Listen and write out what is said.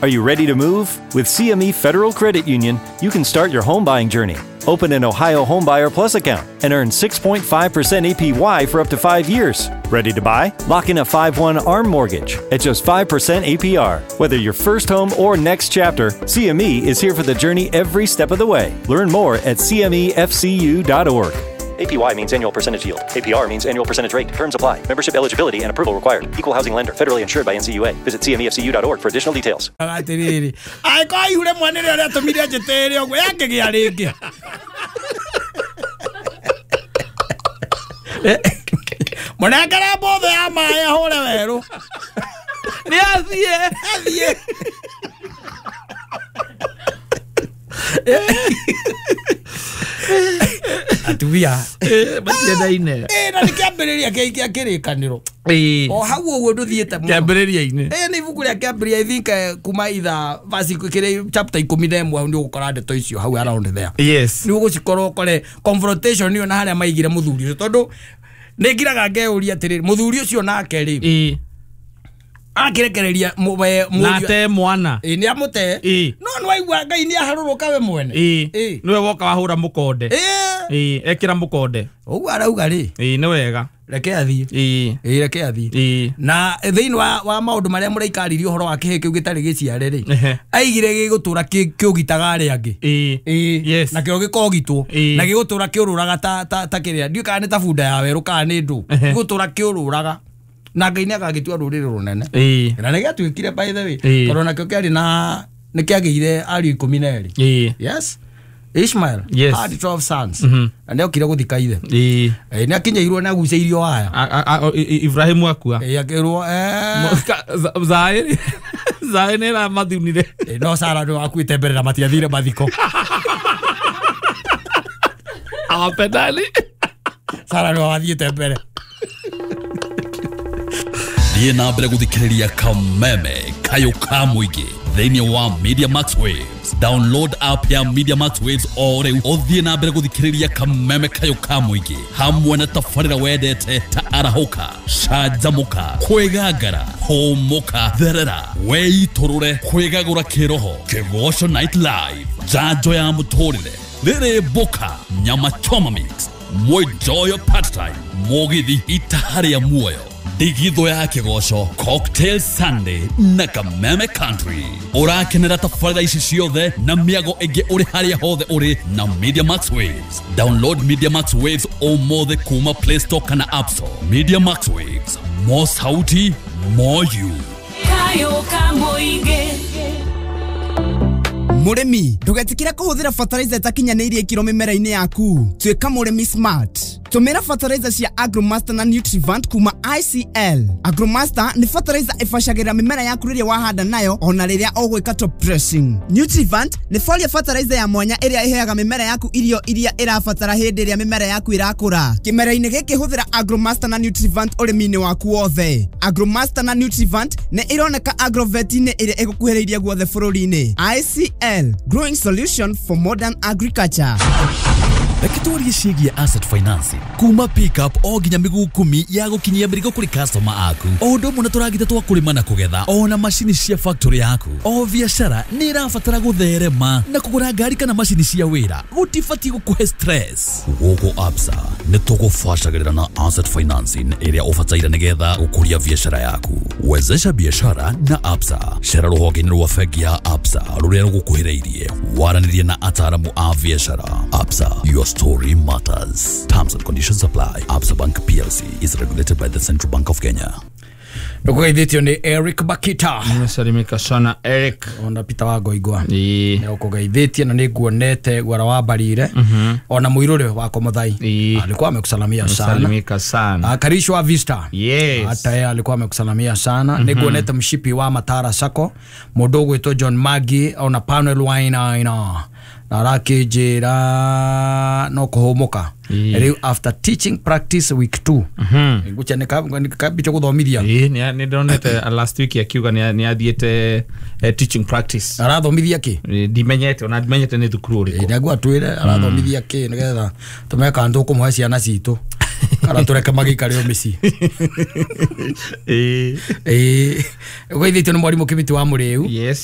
Are you ready to move? With CME Federal Credit Union, you can start your home buying journey. Open an Ohio Homebuyer Plus account and earn 6.5% APY for up to 5 years. Ready to buy? Lock in a 5/1 ARM mortgage at just 5% APR. Whether your first home or next chapter, CME is here for the journey every step of the way. Learn more at cmefcu.org. APY means annual percentage yield. APR means annual percentage rate. Terms apply. Membership eligibility and approval required. Equal housing lender. Federally insured by NCUA. Visit cmefcu.org for additional details. Atiriri. Ai ko ihure mwana rä arä atå mire njä tä re å guo yakä gä a rä ngä. Mũnengere mbũthũ ya maĩ ahũre werũ. Nĩ athiĩ. Athiĩ. Atumia matiendaine. Na nĩ kĩambĩrĩria kĩa kĩrĩkanĩro. O hau ũguo ndũthiĩte mũno. Kĩambĩrĩria-inĩ. Nĩ ibuku rĩa kĩambĩrĩria, I think kuma itha verse kĩrĩa chapter 11 nĩ ũgũkora ndeto icio hau around there. Yes. Nĩ ũgũcikorwo ũkore confrontation ĩyo na harĩa maigire mũthuri ũcio, tondũ nĩ ngiraga ngeyũria atĩrĩrĩ, mũthuri ũcio nake rĩ akĩrekereria nate mwana nĩ amũte, no nĩ waigua Ngai nĩ aharũrũka we mwene. Nĩwe woka wahũra mũkonde. Ekĩra mũkonde ũguo arauga rĩ. Nĩ wega, reke athiĩ. Reke athiĩ. Na thĩinĩ wa maũndũ marĩa mũraikaririe ũhoro wa kĩhĩ kĩu gĩtarĩ gĩciare rĩ, aigire gĩgũtũra kĩũgitaga arĩa angĩ. Nakĩo gĩkogitwo na gĩgũtũra kĩũrũraga ta kĩrĩa, ndiũĩ kana nĩ ta bunda ya werũ kana nĩ ndũ, gĩgũtũra kĩũrũraga. Na Ngai nĩ agagĩtua rũrĩrĩ rũnene. Na nĩ gĩatuĩkire, by the way, tondũ nakĩo kĩarĩ na nĩ kĩagĩire ariũ 12. Yes. Ishmael had 12 sons. Na nĩ okire gũthika ithe. Nĩ akinyĩirwo na agucĩirio waya. Ibrahimu akua. Akĩrwo Zaĩ nĩ ĩramathunire. No Sara nĩ wakuĩte mbere na matiathire mathiko. Awapendani. Sara nĩ wathiĩte mbere. Thiĩ na mbere gũthikĩrĩria Kameme Kayũ ka Mũingĩ thĩinĩ wa Media Max Waves. Download app ya Media Max Waves o rĩu ũthiĩ na mbere gũthikĩrĩria Kameme Kayũ ka Mũingĩ hamwe na tabarĩra wendete ta Arahũka, Canjamũka, Kwĩgangara, Hũmũka, Therera, Wĩitũrũre, Kwĩgagũra Kĩroho, Kĩgoco Night Live, Njanjo ya Mũtũrĩre, Rĩrĩ Mbũka, Nyama Choma Mix, Mwenjoyo Part Time, Mũgithi Itaha rĩa Muoyo, Ndigithũ ya Kĩgoco, Cocktail Sunday na Kameme Country. Ũrakenera tabarĩra ici ciothe na mĩago ĩngĩ ũrĩ harĩa hothe ũrĩ na Media Max Waves. Download Media Max Waves ũmũthĩ kuma Play Store kana App Store. Media Max Waves, more sauti, more you. Kayo ka Mũingĩ. Mũrĩmi, ndũgetikĩre kũhũthĩra fertilizer ĩtakinyanĩirie ikĩro mĩmera-inĩ yaku. Tuĩka mũrĩmi smart. Tũmĩra fertilizer cia Agromaster na Nutrivant kuma ICL. Agromaster nĩ fertilizer ĩbacagĩrĩra mĩmera yaku rĩrĩa wahanda nayo ona rĩrĩa ũgwĩka top dressing. Nutrivant nĩ foliar fertilizer ya mwanya ĩrĩa ĩheaga mĩmera yaku irio iria ĩrabatara hĩndĩ ĩrĩa mĩmera yaku ĩrakũra. Kĩmera-inĩ gĩkĩ hũthĩra Agromaster na Nutrivant ũrĩmi-inĩ waku wothe. Agromaster na Nutrivant nĩ ironeka agrovet-inĩ ĩrĩa ĩgũkuhĩrĩirie guothe bũrũri-inĩ. ICL, growing solution for modern agriculture. Reke twarie ciĩgiĩ asset financing kuma pickup o nginya mĩguu 10 ya gũkinyia mĩrigo kũrĩ customer aku, o ũndũ ũmwe na tũragita twa kũrĩma na kũgetha, o na macini cia factory yaku. O biacara nĩ ĩrabatara gũtherema na kũgũra ngari kana macini cia wĩra gũtibatiĩ gũkũhe stress. Gũkũ Absa nĩ tũgũbacagĩrĩra na asset financing ĩrĩa ũbataire nĩgetha gũkũria biacara yaku. Wezesha biashara na Absa. Cera rũhonge-inĩ rwa bengi ya Absa rũrĩa rũgũkuhĩrĩirie, waranĩrie na ataaramu a biacara. Absa, your story matters. Terms and conditions apply. Absa Bank PLC is regulated by the Central Bank of Kenya. Ndũkũgeithĩtio nĩ Eric Bakita. Nimesalimika sana Eric. Ona Peter wa Ngoingwa. Nĩ ũkũgeithĩtie na nĩ nguonete gwara wa Mbarire. Ona mũirũrĩ wa Komothai. Alikuwa amekusalamia sana. Salimika sana. Karisho wa Vista. Yes. Hata yeye alikuwa amekusalamia sana. Nĩ nguonete mshipi wa Matara Sacco. Mũndũ ũgwĩtwo John Magi ona Panel Wine na arakĩnjĩra no kũhũmũka. Rĩu after teaching practice week 2. Ngũcha nĩ kambicho gũthomithia. Nĩ ndonete last week akiuga nĩ athiĩte teaching practice. Arathomithia kĩ? Ndimenyete, ona ndimenyete nĩ thukuru ũrĩkũ. Nĩguo atwĩre arathomithia kĩ nĩgetha tũmenye kana tũkũmũhe ciana citũ kana tũreke magĩikare o mĩciĩ. Ũgeithĩtio nĩ mwarimũ Kĩmĩtĩ wa Mũrĩu. Yes.